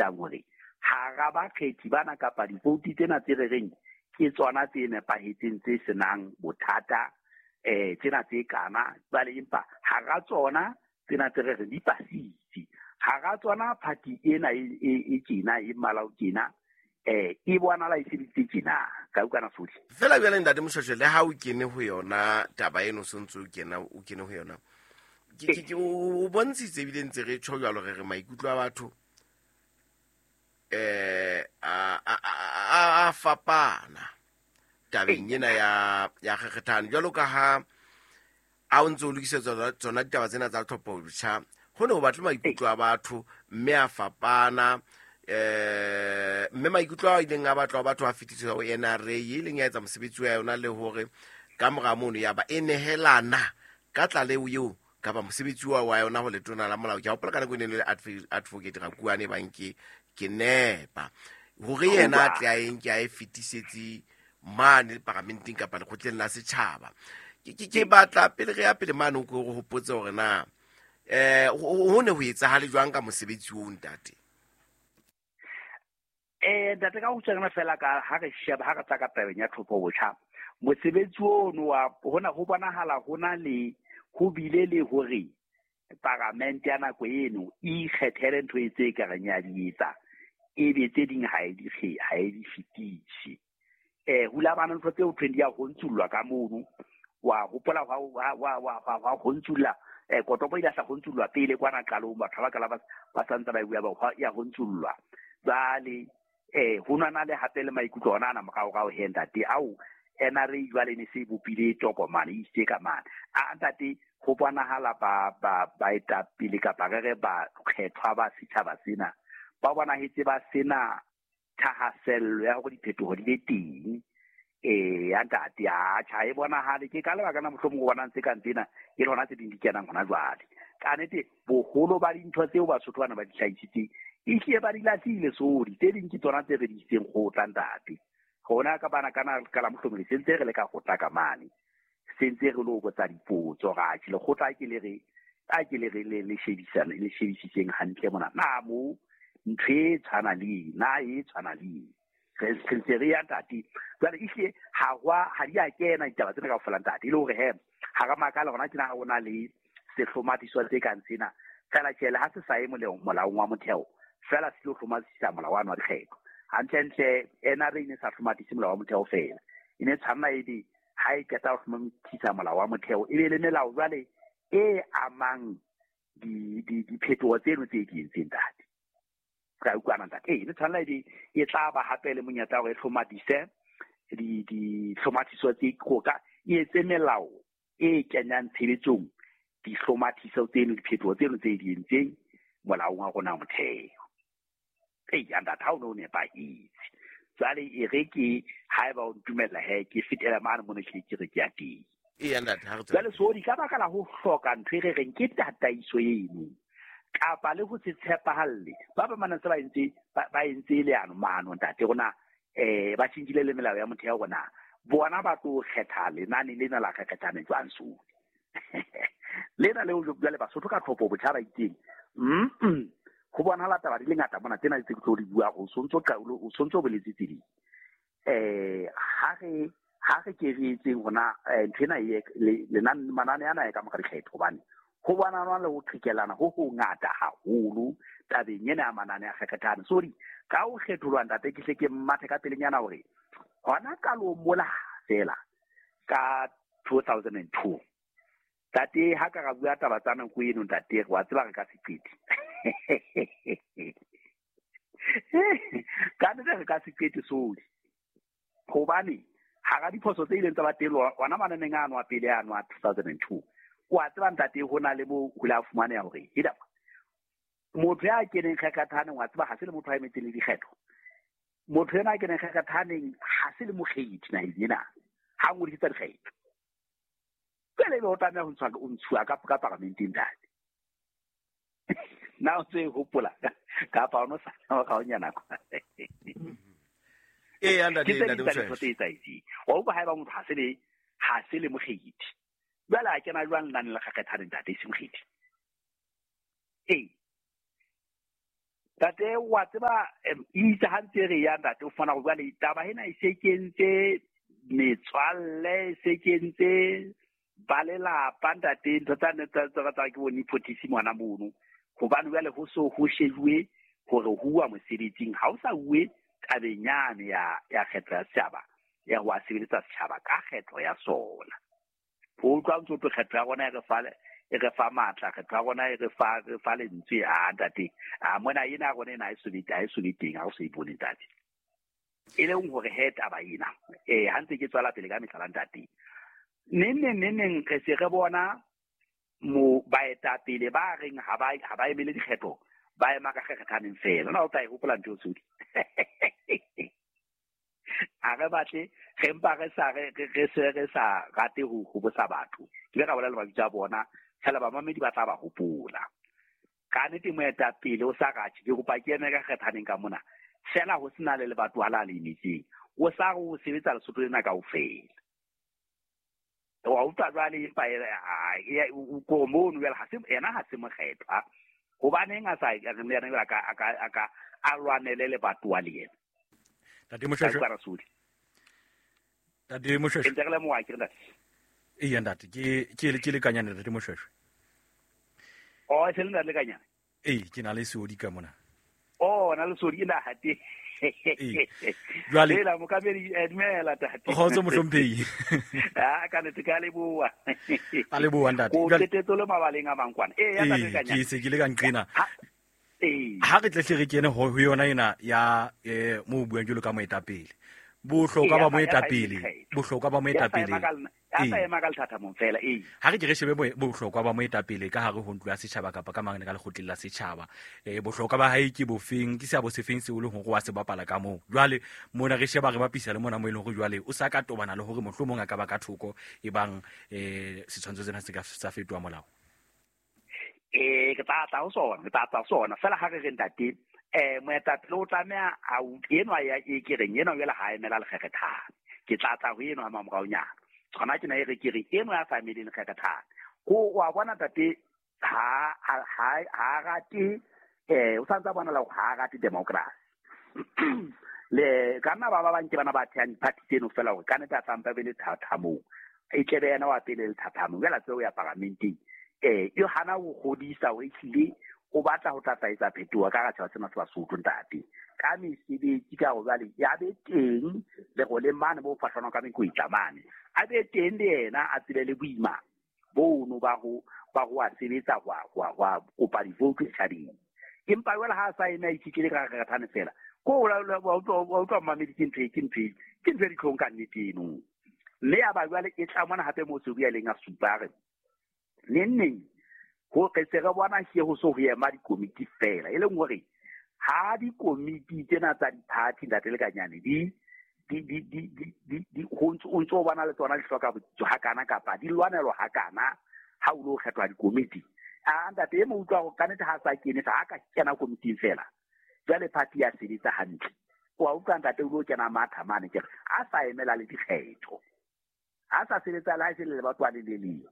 utlwisisang hore hara bakgethi bana kapa divoutu tsena tse re reng ke tsona tse nepahetseng tse senang bothata tsena tse kana jwale empa hara tsona tsena tse re reng di pasitse hara tsona party ena e tjena e mmala o tjena e bonala e sebeditse tjena ka utlwana sohle fela jwale ntate Moshweshwe le ha o kene ho yona taba eno o sentse o kena o kene ho yona ke o bontshitse ebile ntse re tjho jwalo re re maikutlo a batho a fapana tabeng ena ya kgekgethano jwalo ka ha a o ntse o lokisetsa tsona ditaba tsena tsa tlhopho botjha ho ne ho batle maikutlo a batho mme a fapana mme maikutlo a ileng a batlwa batho a fetiswa ho NRA e leng ya etsa mosebetsi wa yona le hore ka mora mono ya ba e nehelana ka tlaleho eo kapa mosebetsi wa yona ho letona la molao. Ke a hopola ka nako e ne le advocate Rakuane bang ke nepa hore yena a tle a e nke a e fetisetse mane paramenteng kapa lekgotleng la setjhaba. Ke batla pele re ya pele mane o ko re hopotse hore na ho ne ho etsahale jwang ka mosebetsi oo ntate? Ntate ka ho tshwana fela ka ha re sheba ha re tla ka tabeng ya tlhopho botjha mosebetsi ono wa hona ho bonahala hona le ho bile le hore paramente ya nako eno e ikgethele ntho e tse ka reng ya di etsa e be tse ding ha e di fetise. Hula bana ntho tseo thweng di ya ho ntsullwa ka mono wa hopola wa ho ntsulla kotopo ile sa ho ntsullwa pele kwana qalong batho ba kala ba santse ba bua ba ya ho ntsullwa jwale ho nwana le hape le maikutlo ona ana morao he ntate ao NRA jwale ne se bopile tokomane e isitse ka mane a ntate ho bonahala ba baetapele kapa re re ba kgethwa ba setjhaba sena ba bonahetse ba sena thahasello ya hore diphetoho di be teng ya ntate a tjha e bonahale ke ka lebaka la mohlomong o bonang tse kang tsena e le hona tse ding di kenang hona jwale ka nnete boholo ba dintho tseo Basotho bana ba di hlahisitseng e hlile ba di lahlile sodi tse ding ke tsona tse re di isitseng kgotla ntate rona ka bana kana ka la mohlomong se ntse re le ka kgotla ka mane se ntse re lo botsa dipotso ra tjhe lekgotla ke le re a ke le re le shebisana le shebisitseng hantle mona na mo ntho e tshwana le na e tshwana le re ntse re ya ntate jwale ehlile ha di a kena ditaba tsena kaofela ntate e le hore he ha re makala hona tjena ha hona le sehlomathiswa tse kang sena fela tjhe le ha se sa ye molaong wa motheo fela se tlo hlomathisisa molao wa dikgetho hantlentle NRA e ne sa hlomathise molao wa motheo fela e ne tshwanela ebe ha e qeta ho hlomathisa molao wa motheo e be le melao jwale e amang diphetoho tseno tse di entseng ntate ka utlwana ntate e ne tshwanela ebe e tla ba hape le monyetla hore e hlomatise dihlomathiso tse ka e etse melao e kenyang tshebetsong dihlomathiso tseno diphetoho tseno tse di entseng molaong wa rona motheo. Eya ntate ha o ne o nepahetse jwale e re ke haeba o ntumella he ke fetela mane mona ke re ke ya teng. Eya ntate ha re jwale sodi ka baka la ho hloka ntho e re reng ke tataiso eno kapa le ho se tshepahalle ba ba mana se ba entse leano mano ntate rona ba tjhentjhile le melao ya motheo rona bona ba tlo kgetha lenane lena la kgethane jwang sodi lena leo jwale Basotho ka tlhopho botjha ba itseng ho bonahala taba di le ngata mona tsena tse ke tlo di bua o sontso o sontso boletse tse ding ha re ke re etseng hona ntho ena e lenane manane ana e ka mora dikgetho hobane ho bonana le ho qhekelana ho hongata haholo tabeng ena ya manane a kgethane sorry ka ho kgetholwa ntate ke hle ke mmathe ka pelenyana hore hona qalong mola fela ka 2002 tate ha ka ra bua taba tsa nako eno ntate wa tseba re ka se qete ka nnete re ka se qete sodi hobane hara diphoso tse ileng tsa ba teng ona mananeng ano a pele ano a 2002 wa tseba ntate ho na le mo ho la fumaneha hore eda motho ya keneng kgekgathaneng wa tseba ha se le motho a emetseng le dikgetho motho ena a keneng kgekgathaneng ha se le mokgethi naheng ena ha ngodisitse dikgetho pele ebe o tlameha ho ntshuwa ka paramenteng ntate na o tse hopola kapa o no sa ga o nyana kwa eya ntate ntate tse etsahetseng wa utlwa haeba motho ha se le mokgethi jwale a kena jwang lenane la kgekgethane ntate e se mokgethi ee Tate wa tseba itse ha ntse re ya ntate o fana go jwale taba ena e se kentse metswalle e se kentse ba lelapa ntate ntho tsa ne tsa tsa ke bo nepotism ngwana mono hobane jwale ho so ho shejuwe hore ho uwa mosebetsing ha o sa uwe tabeng yane ya kgetho ya setjhaba ya ho a sebeletsa setjhaba ka kgetho ya sona. Ho utlwa ntso tlo kgetho ya rona e re fa matla, kgetho ya rona e re fa lentswe a ntate. A mona ena rona ena e so be teng ha o so ipone ntate. E leng hore he taba ena ha ntse ke tswela pele ka mehlala ntate. Neng re se re bona mo baetapele ba reng ha ba emele dikgetho ba ema ka kgethaneng fela. Na o tla e hopola ntho tsodi. A re batle re mpa re sa re se re sa rate ho bosa batho. Ke re bolela mabitso a bona fela ba mamedi ba tla ba hopola. Ka nnete moetapele o sa ratjhe ke kopa ke eme ka kgethaneng ka mona. Fela ho sena le lebatho ha la le emetseng. O sa re o sebetsa Lesotho lena kaofela. Wa utlwa jwale empa ko mono jwale ha se ena ha se mokgethwa. Hobaneng a sa yena a ka a lwanele lebatho wa le yena. Tate Moshweshwe. Tate Moshweshwe. Ntse re le mowa ke ntate. Ee ntate ke lekanyane ntate Moshweshwe. Oh se le ntate lekanyane. Ee ke na le seodi ka mona. Oh na le seodi ena hate. Ee. Jwale la mokamedi dumela tate. Kgotso mohlomphehi. Ah ka nete ka leboha. A leboha ntate. Ko tetetso le mabaleng a mangkwana. Ee ya ntate lekanyane. Ke se ke le ka nqena. Ha re tle re kene ho yona ena ya mo buang jalo ka moetapele. Bohlokwa ba moetapele, bohlokwa ba moetapele. Ya sa ema ka lethathamong fela ee. Ha re ke re shebe bohlokwa ba moetapele ka hare ho ntlo ya setjhaba kapa ka mangene ka lekgotleng la setjhaba. Bohlokwa ba hae ke bofeng, ke seabo sefeng seo le hore wa se bapala ka moo. Jwale mona re sheba re bapisa le mona mo e leng hore jwale o sa ka tobana le hore mohlomong a ka ba ka thoko e bang setshwantsho sena se ka sa fetoha molao. Ke tla tla ho sona, ke tla tla sona. Fela ha re re ntate, moetapele o tlameha a enwa ya e ke reng enwa jwale ha emela lekgekgethane. Ke tla tla ho enwa mamoraonyana. Tsona ke na e re ke re enwa ya sa emeleng lekgekgethane. Ko wa bona ntate ha rate o santsa bona la ha rate democracy. Le ka nna ba bang ke bana ba thehang party tseno fela hore ka nnete a tlampa be le thathamong. E tlebe yena wa pele le thathamong. Jwale tseo ya paramenteng. E hana ho kgodisa hore ehlile o batla ho tlatlaetsa phetoho ka hara sena sa Basotho ntate. Ka mesebetsi ka hore jwale ya be teng le go le mane bo fahlanwa ka mekwetla mane. A be teng le yena a tsebe le boima bono ba ho a sebetsa ho kopa divote setjhabeng. Empa jwale ha a sa eme a itshetlehile ka kgethane fela. Ko wa utlwa mamedi ke ntho e ditlhong ka nnete eno. Mme ya ba jwale e tla mona hape mo se bua leng a supa re neng ho re se re bona ke ho so ho ema dikomiti fela e leng hore ha dikomiti tsena tsa di-party ntate Lekanyane di ho ntso bona le tsona di hloka botsitso hakana kapa di lwanelwa hakana ha o lo kgethwa dikomiti. A ntate e mo utlwa hore ka nnete ha sa kene ha ka kena komiting fela jwale party ya sebetsa hantle. Wa utlwa ntate o lo kena matha mane ke a sa emela le dikgetho. A sa sebetsa le ha se le batho ba le leng.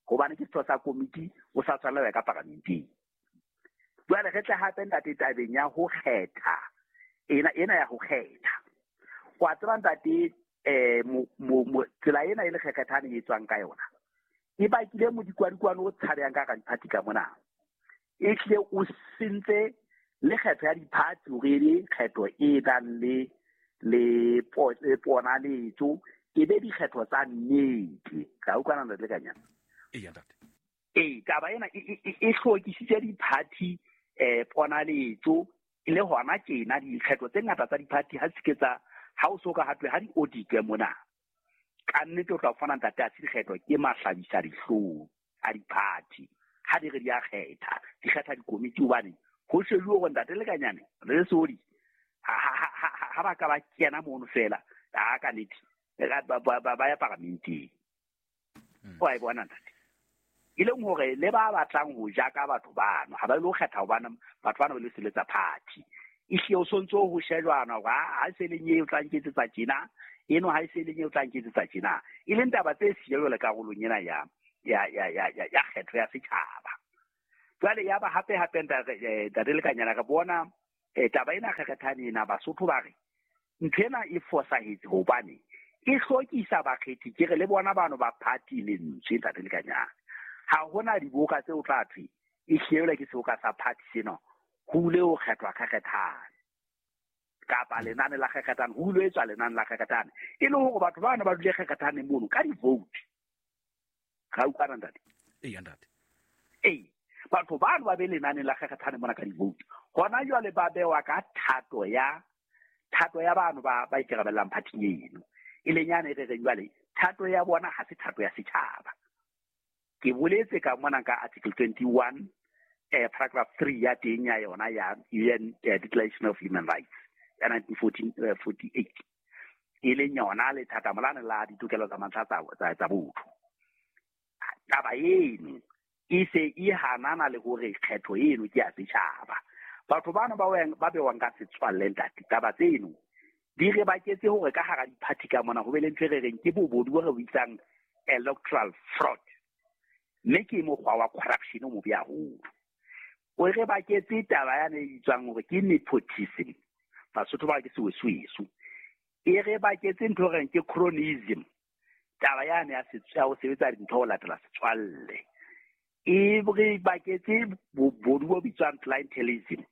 Hobane ke setho sa komiti o sa tshwanela ka paramenteng. Jwale re tle hape ntate tabeng ya ho kgetha. Ena ya ho kgetha. Wa tseba ntate tsela ena e le kgethane e tswang ka yona. E bakile modikwadikwane o tshabehang ka diphathi ka mona. E hlile o sentse le kgetho ya diphathi hore e be kgetho e nang le ponaletso e be dikgetho tsa nnete. Ka utlwana ntate Lekanyane. Ee ntate. Ee taba ena e hlokisitse diphathi ponaletso le hona tjena dikgetho tse ngata tsa diphathi ha se ke tsa ha o so ka hatwe ha di auditwe mona. Ka nnete o tla fumana ntate a se dikgetho ke mahlabisa dihlong a diphathi. Ha di re di a kgetha, di kgetha dikomiti hobane ho shejuwe hore ntate Lekanyane re sodi ha ba ka ba kena mono fela a ka nnete ba ya paramenteng. O a e bona ntate. E leng hore le ba batlang ho ja ka batho bano ha ba lo kgetha hobane batho bana ba le seletsa party. Ehlile o sontso ho shejwana hore ha se leng eo tla nketsetsa tjena eno ha se leng eo tla nketsetsa tjena. E leng taba tse siyo le karolong ena ya kgetho ya setjhaba. Jwale ya ba hape hape ntate Lekanyana re bona taba ena kgekgethane ena Basotho ba re ntho ena e fosahetse hobane e hlokisa bakgethi ke re le bona bano ba party lentswe ntate Lekanyana. Ha hona diboka tse o tla thwe e hlelwa ke seboka sa party sena ho ile ho kgethwa kgekgethane kapa lenane la kgekgethane ho ile etswa lenane la kgekgethane e le hore batho bana ba dule kgekgethane mono ka di-vote. Ga utlwana ntate? Ee ntate. Ee, batho bano ba be lenane la kgekgethane mona ka di-vote. Hona jwale ba bewa ka thato ya bano ba ikarabellang phathing eno. E leng yane e re reng jwale thato ya bona ha se thato ya setjhaba. Ke boletse ka mona ka article 21 paragraph 3 ya teng ya yona ya UN Declaration of Human Rights ya 1948 e leng yona lethathamo lane la ditokelo tsa mantlha tsa botho. Taba eno e se e hanana le hore kgetho eno ke ya setjhaba. Batho bano ba bewang ka setswalle ntate, taba tseno di re baketse hore ka hara diphathi ka mona ho be le ntho e re reng ke bobodu bo re bitsang electoral fraud. Mme ke mokgwa wa corruption o mobe haholo. O re baketse taba yane e bitswang hore ke nepotism. Basotho ba ke sewesweso. E re baketse ntho e reng ke cronyism. Taba yane ya ho sebetsa dintho ho latela setswalle. E re baketse bobodu bo bitswang clientelism.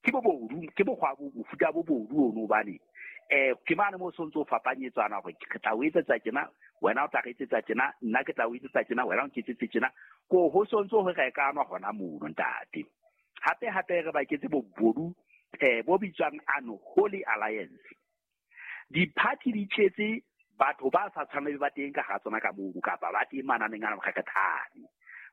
Ke bobodu, ke mokgwa mofuta bobodu ono hobane ke mane mo sontso fapanyetswana hore ke tla o etsetsa tjena, wena o tla re etsetsa tjena, nna ke tla o etsetsa tjena, wena o nketsetse tjena. Ko ho sontso ho rekanwa hona mono ntate. Hape hape re baketse bobodu bo bitswang unholy alliance. Diphathi di tletse batho ba sa tshwaneng ba teng ka hara tsona ka mono kapa ba teng mananeng ana kgekgethane.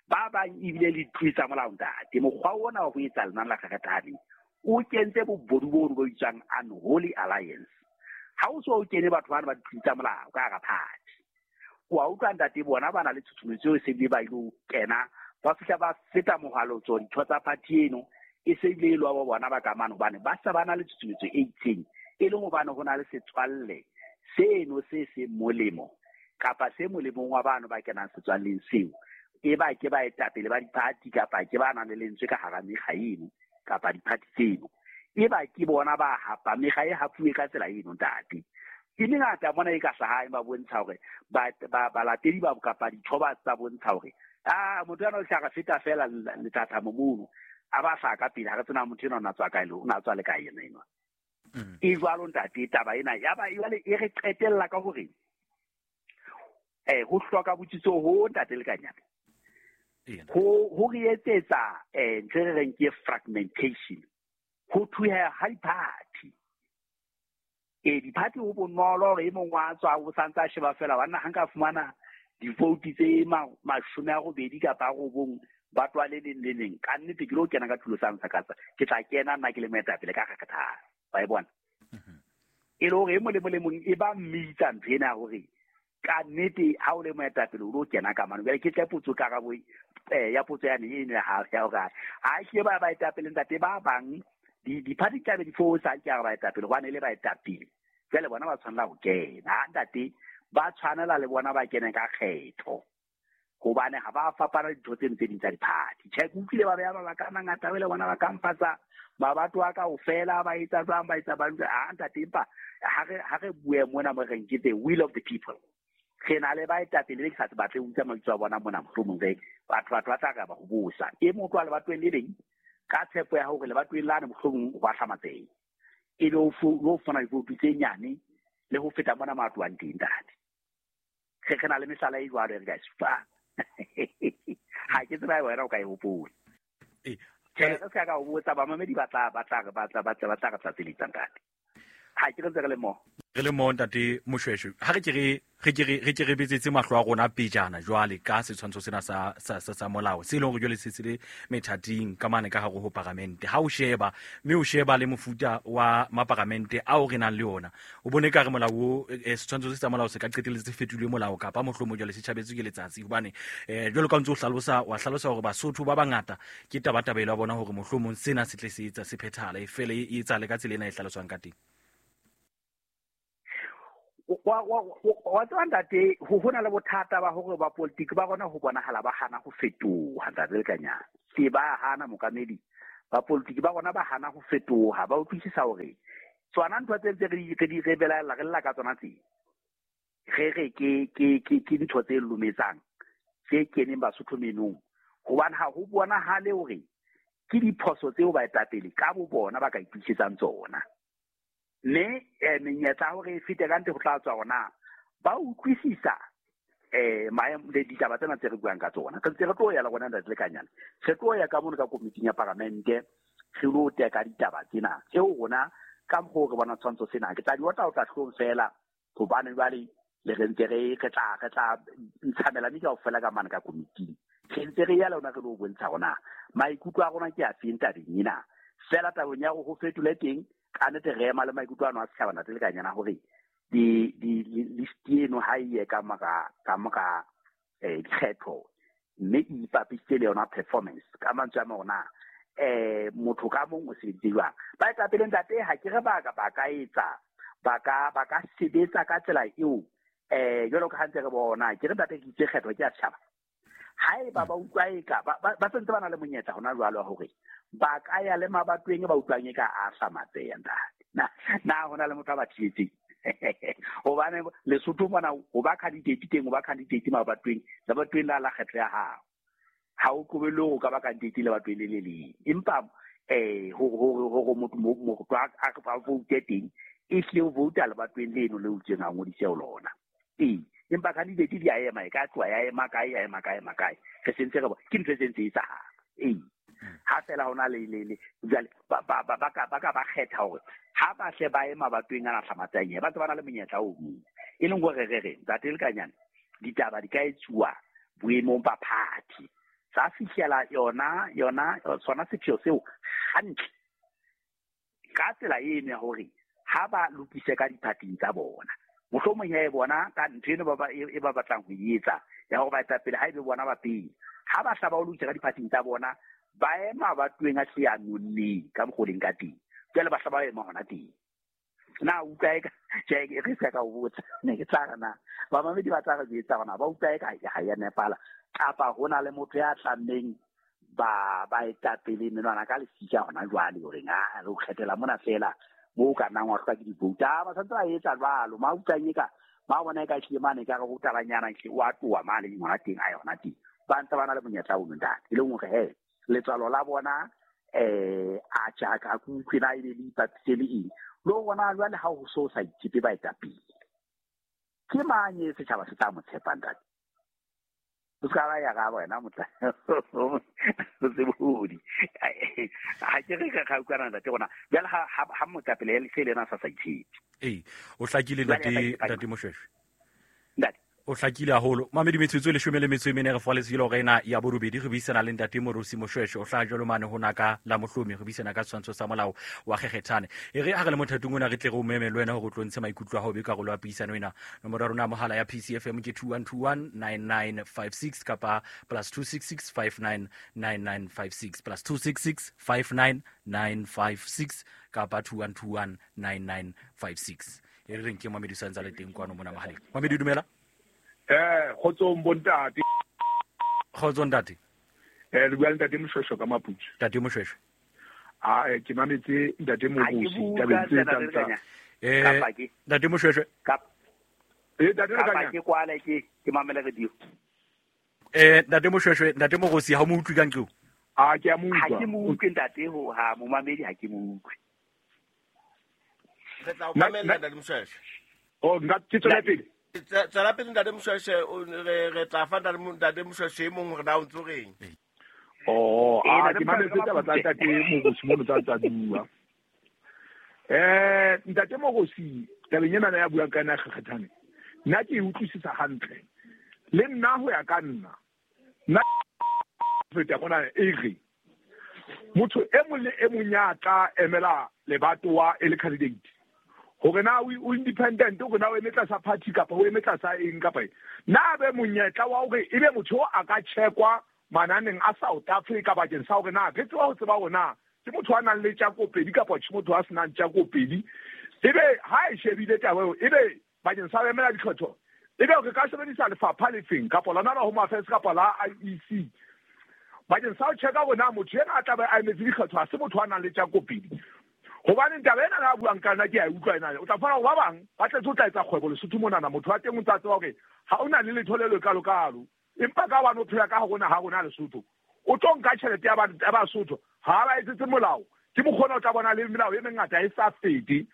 Ba bang ebile le ditloli tsa molao ntate. Mokgwa ona wa ho etsa lenane la kgekgethane o kentse bobodu bono bo bitswang unholy alliance. Ha o so o kene batho bana ba ditloli tsa molao ka hara party. Wa utlwa ntate bona ba na le tshusumetso e se bile ba ilo kena ba fihla ba feta mohalotso ditho tsa party eno e se bile e lwa bo bona ba ka mane hobane ba sa ba na le tshusumetso e itseng e leng hobane ho na le setswalle seno se seng molemo kapa se molemong wa bano ba kenang setswalleng seo e ba ke baetapele ba diphathi kapa ke ba nang le lentswe ka hara mekga eno kapa diphathi tseno e ba ke bona ba hapa mekga e hapuwe ka tsela eno ntate. E mengata mona e ka hlahang ba bontsha hore balatedi ba kapa ditho ba tsa bontsha hore motho ena o tla re feta fela lethathamo mono a ba hlaha ka pele ha re tsena motho ena o na tswa kae le o na tswa le kae yena enwa. E jwalo ntate taba ena ya ba jwale e re qetella ka hore ho hloka botsitso ho ntate Lekanyana. Ho re etsetsa ntho e re reng ke fragmentation. Ho thuheha ha diphathi. Diphathi ho bonolo hore e mong wa tswa o santse a sheba fela wa nna ha nka fumana di-vote tse 80 kapa 9 ba tloha le leng le leng. Ka nnete ke lo kena ka tulo sa ntsha ke tla kena nna ke le moetapele ka kgekgethane. Wa e bona? E le hore e mong le mong e ba mmitsa ntho ena hore ka nnete ha o le moetapele o lo kena ka mano. Jwale ke tle potso karabo ya potso yane eno ya hore ha ke ba baetapele ntate ba bang diphathi tla be di fosa ke a baetapele hobane le baetapele. Jwale bona ba tshwanela ho kena ntate, ba tshwanela le bona ba kene ka kgetho hobane ha ba fapana dintho tseno tse ding tsa diphathi. Tjhe, ke utlwile ba beha mabaka a mangata le bona ba kampatsa mabato a kaofela ba etsa jwang ba etsa ba ntate empa ha re bue mona mo reng ke the will of the people. Re na le baetapele be ke sa batle ho utlwa mabitso a bona mona mohlomong re batho ba tla ka ba ho bosa. E mong tloha lebatoweng le leng ka tshepo ya hore lebatoweng lane mohlomong ho a hlamatseha. E be o fumana divoutu tse nyane le ho feta mona mo a tlohang teng ntate. Re na le mehlala e jwalo e re ka e supang. Ha ke tseba wena o ka e hopola. Tjhe, re se ka o botsa bamamedi ba tla re tlatseletsa ntate. Ha ke re ntse re le mo. Re le mo ntate Moshweshwe. Ha re ke re betsetse mahlo a rona pejana jwale ka setshwantsho sena sa molao se leng hore jwale se se le methating ka mane ka hare ho paramente. Ha o sheba mme o sheba le mofuta wa maparamente ao re nang le ona, o bone ka re molao o setshwantsho se sa molao se ka qetelletse se fetolwe molao kapa mohlomong jwale se tjhabetswe ke letsatsi hobane jwalo ka ntse o hlalosa wa hlalosa hore Basotho ba bangata ke tabatabelo ya bona hore mohlomong sena se tle se etsa se phethala e fele e etsahale ka tsela ena e hlaloswang ka teng. Wa tseba ntate, ho na le bothata ba hore ba politiki ba rona ho bonahala ba hana ho fetoha, ntate Lekanyane. Ke ba hana mokamedi. Ba politiki ba rona ba hana ho fetoha, ba utlwisisa hore tsona ntho tse ntse re di re belaella, re lla ka tsona tse. Re re ke ntho tse lometsang tse keneng Basotho menong, hobane ha ho bonahale hore ke diphoso tseo baetapele ka bo bona ba ka itokisetsa tsona. Mme menyetla hore e fete ka ntle ho tla tswa hona ba utlwisisa maemo le ditaba tsena tse re buang ka tsona. Re ntse re tlo ya le rona ntate Lekanyane, re tlo ya ka mono ka komiting ya paramente, re lo teka ditaba tsena tseo rona ka mokgwa o re bona tshwantsho sena. Ke tla di otla otla hlong fela, hobane jwale le re ntse re tla ntsha melami kaofela ka mane ka komiting. Re ntse re ya le rona re lo bontsha rona maikutlo a rona ke a feng tabeng ena. Fela tabeng ya hore ho fetole teng, ka nnete re ema le maikutlo ano a setjhaba ntate Lekanyana hore di list eno ha e ye ka mora dikgetho, mme e ipapisitse le yona performance. Ka mantswe a mang ona motho ka mong o sebeditse jwang. Baetapele ntate, ha ke re ba ka etsa, ba ka sebetsa ka tsela eo jwalo ka ha ntse re bona. Ke re ntate, ke itse kgetho ke ya setjhaba. Haeba ba utlwa eka ba sentse ba na le monyetla hona jwalo wa hore ba ka ya le mabatoweng ba utlwang eka a hlamatseya ntate. Na hona le motho a ba thibetseng? Hobane Lesotho mona ho ba candidate teng, ho ba candidate mabatoweng, lebatoweng la kgetho ya hao. Ha o qobellwe hore o ka ba candidate lebatoweng le le leng. Empa hore motho a vote teng, e hlile o vouta lebatoweng leno le utsweng a ngodise ho lona. Ee, empa candidate di a ema, e ka tloha ya ema kae, ya ema kae, ema kae. Re sentse re ke ntho e sentse e etsahala. Ee, ha fela hona le jwale ba ka ba kgetha hore ha ba hle ba ema batweng ana hlamatsang, ba tse ba na le monyetla o mong. E leng hore re re ntate Lekanyane, ditaba di ka etsuwa boemong ba party, tsa fihlela yona sona sepheo seo hantle ka tsela eno ya hore ha ba lokise ka diphating tsa bona. Mohlomong ya e bona ka ntho eno e ba batlang ho e etsa ya hore baetapele ha ebe bona ba pele, ha ba hla ba o lokisa ka diphating tsa bona, ba ema ba tweng a hle a nonneng ka mokgoleng ka teng. Jwale ba hla ba ema hona teng. Na utlwa eka tjhe, re se ka o botsa, ne ke tla re na bamamedi ba tla re jwetsa hona ba utlwa eka ha ya nepala, kapa ho na le motho ya tlammeng ba baetapele menwana ka lesika hona jwale hore a re o kgethela mona fela mo ka nnang wa hlwa ke di-vote. Ba santse ba etsa jwalo, ma utlwang eka ba bona eka hlile mane ka re ho tabanyana hle o a tloha mane hona teng, a yona teng. Ba ntse ba na le monyetla ono ntate, e leng hore he letswalo la bona a tjha ka kutlwe na ebe le ipapise le eng. Le rona jwale ha ho so sa itshepe baetapele, ke mang e setjhaba se tla mo tshepa ntate? O ska ba ya ga wena motla o se bodi. Ha ke re ga utlwana ntate rona jwale ha motapele le se lena sa itshepe. Ee, o hlakile ntate Moshweshwe. Ntate o hlakile haholo. Mamedi metsotso e 14 re faletse le hore ena ya borobedi re buisana le ntate Moorosi Moshweshwe, o hlaha jwalo mane ho naka la Mohlomi, re buisana ka tshwantsho sa molao wa Kgekgethane. E re ha re le mothatong ona re tle re o meme le wena hore o tlo ntshe maikutlo a hao be karolo ya puisano ena. Nomoro ya rona ya mohala ya PCFM ke 21219956 kapa +266 599956 +266 599956 kapa 21219956. E re reng ke Mamedi sa ntsa le teng kwano mona mohaleng. Mamedi dumela. Kgotsong bontate. Kgotsong ntate. Le bua le ntate Moshweshwe ka Maputswe. Ntate Moshweshwe. Ke mametse ntate Moorosi tabeng tse tsa ntate Moshweshwe. Ntate Lekanyane. Ke kwale ke mamele radio. Ntate Moshweshwe, ntate Moorosi ha o mo utlwe ka nqeo? A ke a mo utlwa. Ha ke mo utlwe ntate ho ha momamedi ha ke mo utlwe. Re tla o mamela ntate Moshweshwe. Oh, nka ke tswela pele. Tswela pele ntate Moshweshwe, re tla fa ntate Moshweshwe e mong hore na o ntso reng. Oh, ke mametse taba tsa ntate Moorosi mono tsa bua. Ntate Moorosi tabeng ena ya buang ka yona Kgekgethane, nna ke e utlwisisa hantle. Le nna ho ya ka nna, nna feta mona e re motho e mong le e mong ya tla emela lebatowa e le candidate, hore na o independent, hore na o eme tlasa party kapa o eme tlasa eng kapa eng, na be monyetla wa hore ebe motho a ka checkwa mananeng a South Africa bakeng sa hore na re tseba ho tseba hore na ke motho a nang le tjakopedi kapa ke motho a senang tjakopedi. Ebe ha e shebile taba eo, ebe bakeng sa ho emela dikgetho, ebe re ka sebedisa lefapha lefeng kapa lona la Home Affairs kapa la IEC bakeng sa ho checka hore na motho ena a tla be a emetse dikgetho ha se motho a nang le tjakopedi. Hobane taba ena a buang ka nna ke a e utlwa ena. O tla fumana hore ba bang ba tletse ho tla etsa kgwebo Lesotho monana, motho wa teng o ntse a tseba hore ha o na le letho le lekalokalo, empa ka hobane o phela ka hare naha rona Lesotho, o tlo nka tjhelete ya Basotho, ha ba etsetse molao. Ke mokgona o tla bona le melao e mengata e sa fete.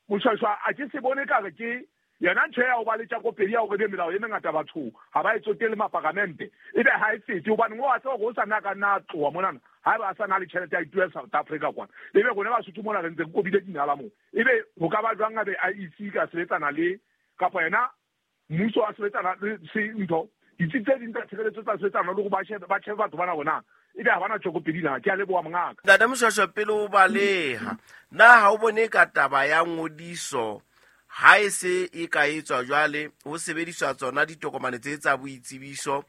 Moshweshwe a ke se bone ka re ke yona ntho ya ho ba le tjakopedi ya hore ebe melao e mengata batho ha ba e tsotelle maparamente, ebe ha e fete, hobane o a tseba hore o sa nna ka nna a tloha monana haeba a sa na le tjhelete ya ituela South Africa kwana, ebe rona Basotho mona re ntse re kobile dinala moo. Ebe ho ka ba jwang abe IEC ka sebetsana le kapa yena mmuso a sebetsana le se ntho ditsi tse ding tsa tshireletso tsa sebetsana le hore ba shebe batho bana bona ebe ha bana tjokopedi na. Ke a leboha mongaka. Ntate Moshweshwe, pele o baleha, na ha o bone ka taba ya ngodiso ha e se e ka etswa jwale ho sebediswa tsona ditokomane tse tsa boitsebiso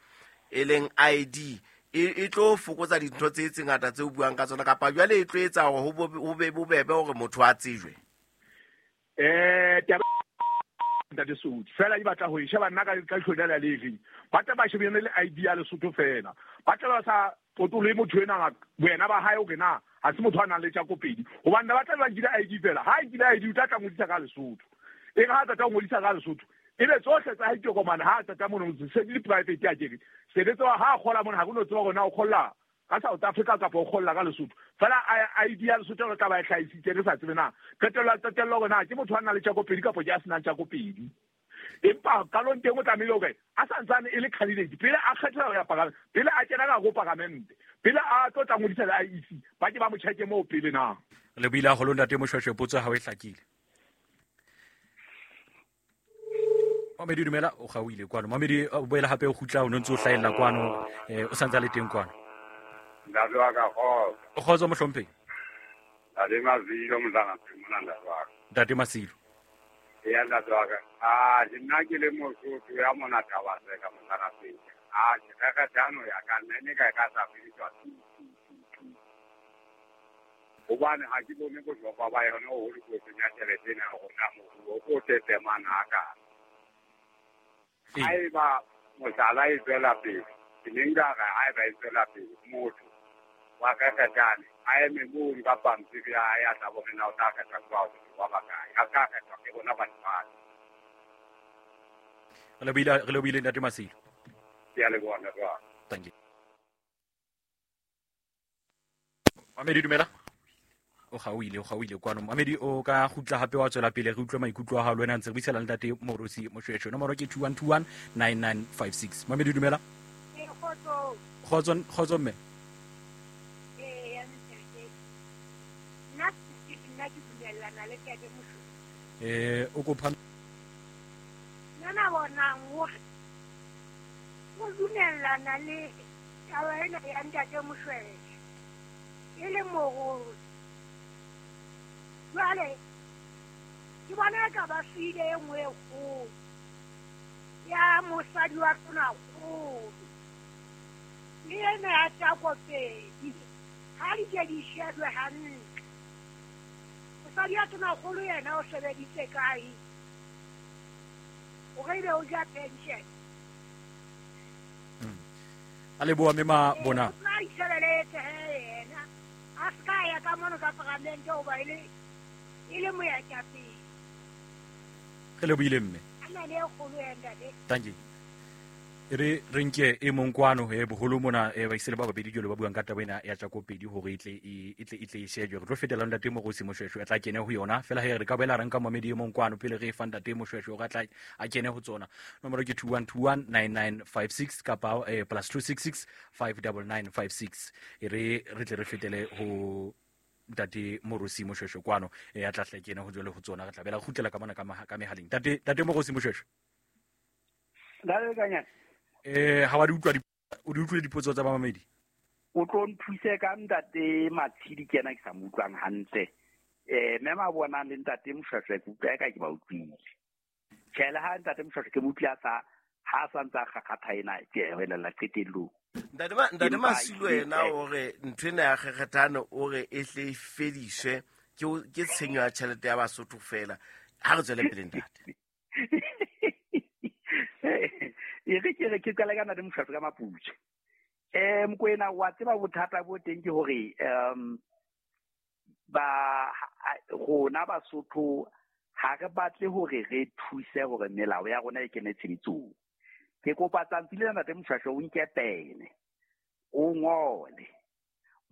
e leng ID, e tlo fokotsa dintho tse tse ngata tse o buang ka tsona, kapa jwale e tlo etsa hore ho be bobebe hore motho a tsejwe? Taba Ntate Soudi, fela di batla ho e sheba nna ka hlona le le reng. Ba tla ba shebane le ID ya Lesotho fela. Ba tla ba sa potolohe motho ena boena ba hae hore na ha se motho a nang le tjakopedi. Hobane ba tla ba nkile ID fela. Ha nkile ID o tla tla ngodisa ka Lesotho. E re ha tla ngodisa ka Lesotho, ebe tsohle tsa hae ditokomane ha tla mono se di private ya kere. Sebetsa ha kgola mona ha go no tseba hore na o kgolla ka South Africa kapa o kgolla ka Lesotho. Fela ID ya Lesotho re tla ba e hlahisitse re sa tsebe na qetello hore na ke motho a nang le tjakopedi kapa ke a senang tjakopedi. Empa qalong teng o tlamehile hore a santsane e le candidate pele a kgethelwa ho ya paramente, pele a kena ka ho paramente, pele a tlo tla ngodisa le IEC, ba ke ba mo checke moo pele na. Le buile haholo Ntate Moshweshwe, potso ya hao e hlakile. Mamedi dumela, o kgaohile kwano. Mamedi o boela hape o kgutla, o no ntse o hlahella kwano, o santse a le teng kwano. Ntate wa ka, kgotso. Kgotso mohlomphehi. Ntate Masilo, mosana mona ntate wa ka. Ntate Masilo. Eya ntate wa ka. Ke nna ke le Mosotho ya mona Thabaseka mosana pele. Ke kgekgethano ya ka nna ne ka sa fediswa. Hobane ha ke bone bohlokwa ba yona ho le kotsing ya tjhelete ena ya rona moruo o tetemang hakana. Haeba mohlala e tswela pele, ke ne nka re haeba e tswela pele, motho wa kgekgethane a eme mono ka pampiri ya hae a tla bone na o tla kgethwa ke batho ba bakae, a tla kgethwa ke rona batho ba. Re lebohile Ntate Masilo. Ke a leboha ntate wa ka. Thank you. Mamedi dumela. O kgaohile kwano. Mamedi o ka kgutla hape wa tswela pele re utlwe maikutlo a hao le wena ntse re buisana le Ntate Moorosi Moshweshwe. Nomoro ke 21219956. Mamedi dumela. Kgotso. Kgotso mme. Ya ntate. Nna ke dumellana le Ntate Moshweshwe. O kopa Nna bona hore o dumellana le taba ena ya Ntate Moshweshwe. E le morolo. Jwale ke bona ka ba file e nngwe e kgolo ya mosadi wa Tonakgolo le ena ya tjakopedi, ha di ke di shebwe hantle. Mosadi wa Tonakgolo yena o sebeditse kae hore ebe o ja pension? A leboha mme Mabona. O itshebeletse he yena, a se ka ya ka mono ka paramente hoba e le moetapele. Re lebohile mme. A na le e kgolo ya ntate. Thank you. Re nke e mong kwano e boholo mona e ba isele ba babedi jwalo ba buang ka taba ena ya tjakopedi hore e tle e shejwe. Re tlo fetela Ntate Moorosi Moshweshwe a tla kene ho yona. Fela he re ka boela re nka mamedi e mong kwano pele re e fa Ntate Moshweshwe hore a tla a kene ho tsona. Nomoro ke 21219956 kapa plus 266 59956. E re tle re fetele ho Ntate Moorosi Moshweshwe kwano e a tla hle kene ho jwale ho tsona. Re tla bela kgutlela ka mona ka mehaleng. Ntate Moorosi Moshweshwe. Ntate Kanyane. Ha wa di utlwa o di utlwile dipotso tsa bamamedi? O tlo nthuse ka Ntate Matshidi ke yena ke sa mo utlwang hantle. Mme Mabona le Ntate Moshweshwe ke utlwa eka ke ba utlwile. Tjhe, le ha Ntate Moshweshwe ke mo utlwile a sa ha sa ntse a kgakgatha ena, ke a welella qetellong. Ntate Masilo yena o re ntho ena ya kgekgethane o re e hle e fediswe ke tshenyo ya tjhelete ya Basotho fela. Ha re tswele pele ntate. E re ke re ke qala ka ntate Moshwashwe ka Maputswe. Mokoena wa tseba bothata bo teng ke hore ba rona Basotho ha re batle hore re thuse hore melao ya rona e kene tshebetsong. Ke kopa tsatsi lena ntate Moshwashwe o nke pene, o ngole.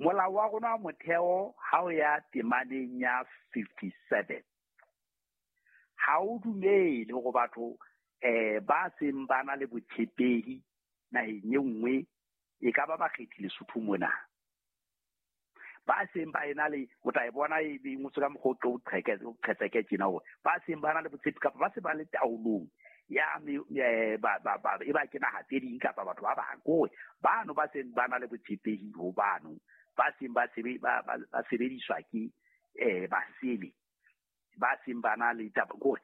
Molao wa rona wa motheo ha o ya temaneng ya 57. Ha o dumele hore batho ba seng ba na le botshepehi naheng e nngwe e ka ba bakgethi Lesotho mona. Ba seng ba ena le o tla e bona e ngotswe ka mokgwa o qhetseke tjena hore ba seng ba na le botshepi kapa ba se ba le taolong ya e ba ke naha tse ding kapa batho ba bang kore bano ba seng ba na le botshepehi ho bano ba seng ba sebediswa ke basele ba seng ba na le taba kore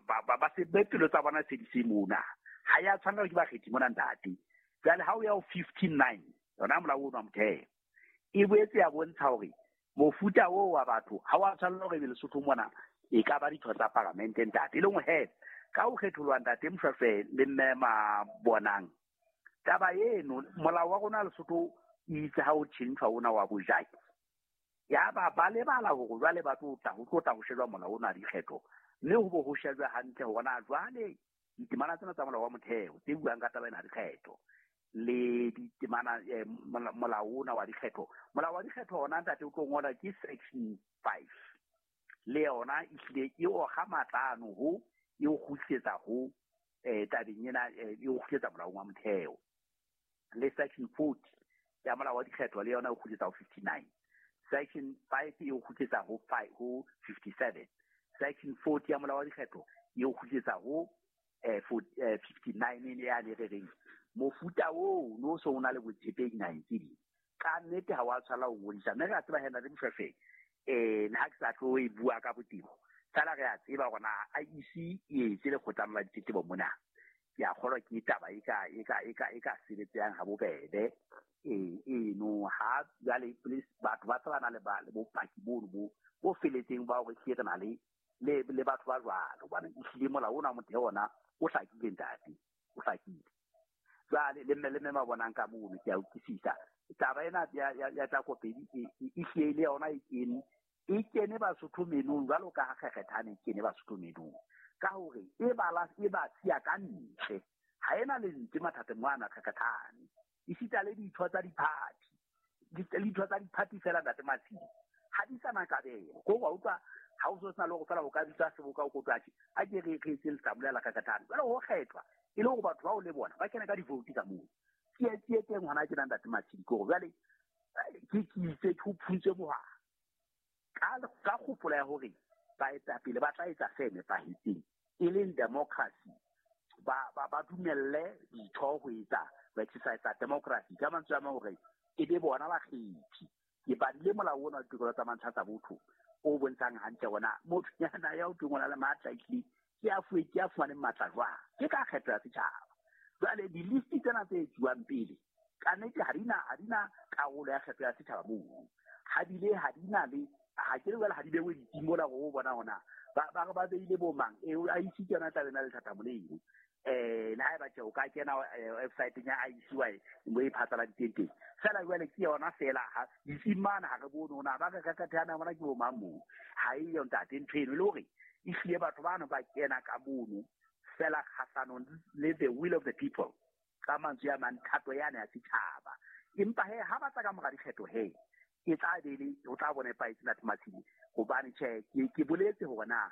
ba se pelo tsa bona se di se mona ha ya tshwanela ke bakgethi mona ntate. Jwale ha o ya ho 59 yona molao ono wa motheo e boetse ya bontsha hore mofuta oo wa batho ha wa tshwanela hore ebe Lesotho mona e ka ba ditho tsa paramente ntate. E leng he ka ho kgetholwa ntate Moshwashwe le mme Mabonang taba eno molao wa rona Lesotho itse ha o tjhentjhwa ona wa bojaki ya ba lebala hore jwale ba tlo tla ho tlotla ho shejwa molao ona dikgetho mme ho bo ho shejwa hantle hore na jwale ditemana tsena tsa molao wa motheo tse buang ka taba ena dikgetho le ditemana molao ona wa dikgetho. Molao wa dikgetho ona ntate o tlo ngola ke section 5 le yona ehlile e oga matla ano ho e o kgutlisetsa ho tabeng ena e o kgutlisetsa molaong wa motheo. Le section 40 ya molao wa dikgetho le yona e kgutlisetsa ho 59. Section 5 e o kgutlisetsa ho 57. Section 40 ya molao wa dikgetho e o kgutlisetsa ho 59 ya le reng mofuta oo no so o na le botshepehi naheng tse ding ka nnete ha wa tshwanela ho ngodisa. Mme re a tseba hena le Moshwashwe le ha ke sa tlo e bua ka botebo fela re a tseba hore na IEC e etse lekgotla la ditletlebo mona. Ke a kgolwa ke taba e ka sebetsang ha bobebe eno ha jwale please batho ba tsebana le bopaki bono bo feletseng ba hore ehlile re na le batho ba jwalo hobane ehlile molao ona wa motheo ona o hlakile ntate, o hlakile. Jwale le mme Mabonang ka mono ke a utlwisisa taba ena ya Tlakopedi e hlile le yona e kene Basotho menong jwalo ka ha kgekgethane e kene Basotho menong ka hore e ba siya ka ntle ha ena lentswe mathateng mwana kgekgethane esita le ditho tsa diphathi ditho tsa diphathi fela ntate Matshidi ha di sana kabelo ko wa utlwa ha o so sena le hore fela o ka bitsa seboka o kotwa a ke re etse letlamulela kgekgethane jwale ho kgethwa e le hore batho bao le bona ba kene ka di-vote ka moo. Tsietsi e teng hona tjena ntate Matshidi ke hore jwale ke itse ke ho phuntswe mohala ka kgopolo ya hore baetapele ba tla etsa se nepahetseng e leng democracy ba dumelle ditho ho etsa ba exercise democracy ka mantswe a mang hore e be bona bakgethi. Ke badile molao ona wa ditokelo tsa mantlha tsa botho o bontshang hantle hore na motho yana ya o teng o na le matla ehlile ke a fuwe ke a fumaneng matla jwang ke ka kgetho ya setjhaba. Jwale di-list tsena tse etsuwang pele ka nnete ha di na karolo ya kgetho ya setjhaba moo ha bile ha di na le ha ke le jwale ha di bewe ditsing mola hore o bona hona ba re ba beile bo mang IEC ke yona taba ena le thathamo leno. Le ha eba tje o ka kena website-eng ya IEC wa mo e phatlaladitseng teng fela jwale ke yona fela ha ditsing mane ha re bone hona ba re kgekgethana bona ke bo mang moo ha e yo ntate ntho eno e le hore ehlile batho bano ba kena ka mono fela kgahlanong le the will of the people ka mantswe a mang thato yane ya setjhaba. Empa he ha ba tla ka mora dikgetho he e tla be le o tla bona paetse ntate Matshidi hobane tjhe ke boletse hore na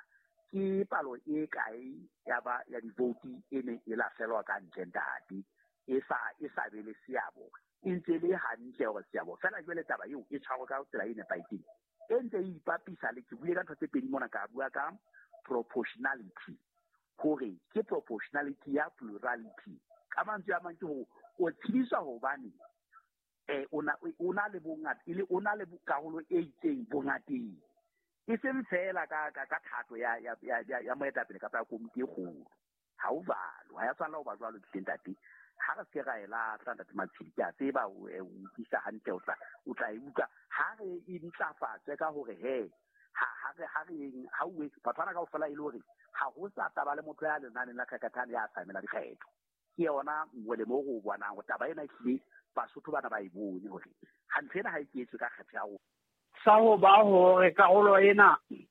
ke palo e kae ya ba ya di-vote e neng e lahlelwa ka ntle ntate e sa be le seabo e ntse le hantle hore seabo fela jwale taba eo e tshwarwe ka tsela e nepahetseng e ntse e ipapisa le ke bue ka ntho tse pedi mona ka bua ka proportionality hore ke proportionality ya plurality ka mantswe a mang ke hore o tshediswa hobane o na le bongata e le o na le karolo e itseng bongateng e seng fela ka thato ya moetapele kapa ya komiti e kgolo. Ha o jwalo ha ya tshwanela ho ba jwalo ke ntate ha re se ra e lahla ntate Matshidi ke a tseba o utlwisa hantle o tla e utlwa ha re e ntlafatse ka hore he ha re ha o Rantswe, batho bana kaofela e le hore ha ho sa taba le motho ya lenaneng la Kgakgathane ya sa emela dikgetho. Ke yona molemo o re o bonang hore taba ena ehlile Basotho bana ba e bone hore ha ntho ena ha e ke etswe ka kgetho ya rona. Sa ho ba hore karolo ena